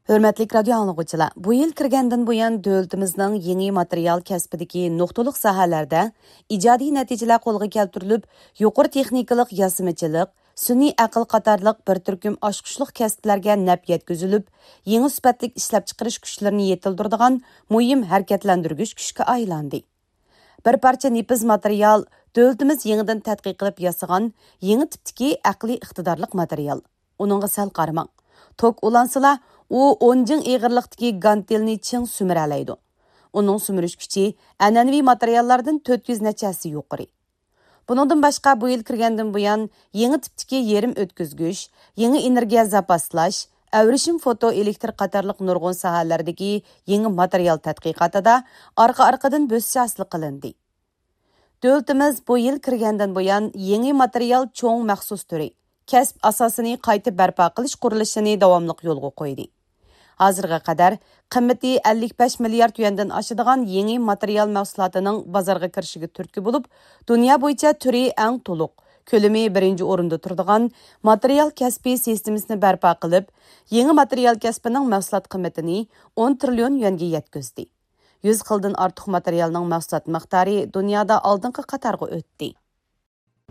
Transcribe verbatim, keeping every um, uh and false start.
ھۆرمەتلىك رادىيو ئاڭلىغۇچىلار، بۇ يىل كىرگەندىن بۇيان، دۆلىتىمىزنىڭ يېڭى ماتېرىيال كەسپىدىكى نۇقتىلىق ساھەلەردە ئىجادىي نەتىجىلەر قولغا كەلتۈرۈلۈپ، يۇقىرى تېخنىكىلىق ياسىمىچىلىق، سۈنئىي ئەقىل قاتارلىق بىر تۈركۈم ئاچقۇچلۇق كەسىپلەرگە نەپ يەتكۈزۈلۈپ، يېڭى سۈپەتلىك ئىشلەپچىقىرىش كۈچلىرىنى يېتىلدۈرىدىغان مۇھىم ھەرىكەتلەندۈرگۈچ كۈچكە ئايلاندى. بىر پارچە نېپىز ماتېرىيال، دۆلىتىمىز يېڭىدىن تەتقىق قىلىپ ياسىغان يېڭى تىپتىكى ئەقلىي ئىقتىدارلىق ماتېرىيال. ئۇنىڭغا سەل قارىماڭ. توك ئۇلانسىلا، ئۇ ئون جىڭ ئېغىرلىقتىكى گانتېلنى چىڭ سۈمۈرەلەيدۇ. ئۇنىڭ سۈمۈرۈش كۈچى ئەنئەنىۋى ماتېرىياللاردىن تۆت يۈز نەچچە ھەسسە يۇقىرى. بۇنىڭدىن باشقا، بۇ يىل كىرگەندىن بۇيان، يېڭى تىپتىكى يېرىم ئۆتكۈزگۈچ، يېڭى ئېنېرگىيە زاپاسلاش، ئەۋرىشىم فوتو ئېلېكتر قاتارلىق نۇرغۇن ساھەلەردىكى يېڭى ماتېرىيال تەتقىقاتىدا ئارقا-ئارقىدىن بۆسۈش ھاسىل قىلىندى. دۆلىتىمىز بۇ يىل كىرگەندىن بۇيان، يېڭى ماتېرىيال چوڭ مەخسۇس تۈرى، كەسىپ ئاساسىنى قايتا بەرپا قىلىش قۇرۇلۇشىنى داۋاملىق يولغا قويدى. ھازىرغا قەدەر قىممىتى ئەللىك بەش مىليارد يۈەندىن ئاشىدىغان يېڭى ماتېرىيال مەھسۇلاتىنىڭ بازارغا كىرىشىگە تۈرتكە بولۇپ، دۇنيا بويىچە تۈرى ئەڭ تولۇق، كۆلىمى بىرىنچى ئورۇندا تۇرىدىغان ماتېرىيال كەسپى سىستېمىسىنى بەرپا قىلىپ، يېڭى ماتېرىيال كەسپىنىڭ مەھسۇلات قىممىتىنى ئون تىرىليون يۈەنگە يەتكۈزدى. يۈز خىلدىن ئارتۇق ماتېرىيالنىڭ مەھسۇلات مىقدارى دۇنيادا ئالدىنقى قاتارغا ئۆتتى.